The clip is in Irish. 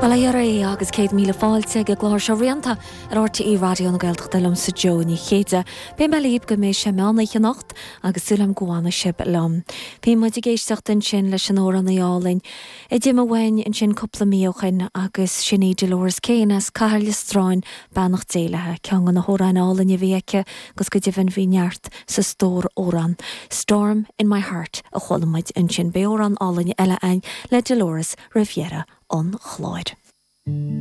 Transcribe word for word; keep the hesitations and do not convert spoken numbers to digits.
Well agus céad míle fáilte ag an gclár seo rianta ar R T É Raidió na Gaeltachta liomsa Joe Ní Chéide. Beidh mé libh go mbeidh sé meán oíche anocht agus súil agam go bhfanfaidh sibh liom. Bhí muid ag éisteacht ansin leis an amhránaí álainn. A d'imigh uainn ansin cúpla mí ó shin agus sin í Dolores Keane as Cathair Stráin beannacht Dé léi ceann de na hamhráin álainn a bhí aici agus go deimhin bhí neart sa stór amhrán. Storm in my heart a chuala muid ansin beidh amhrán álainn eile againn le Dolores roimh dheireadh an chláir.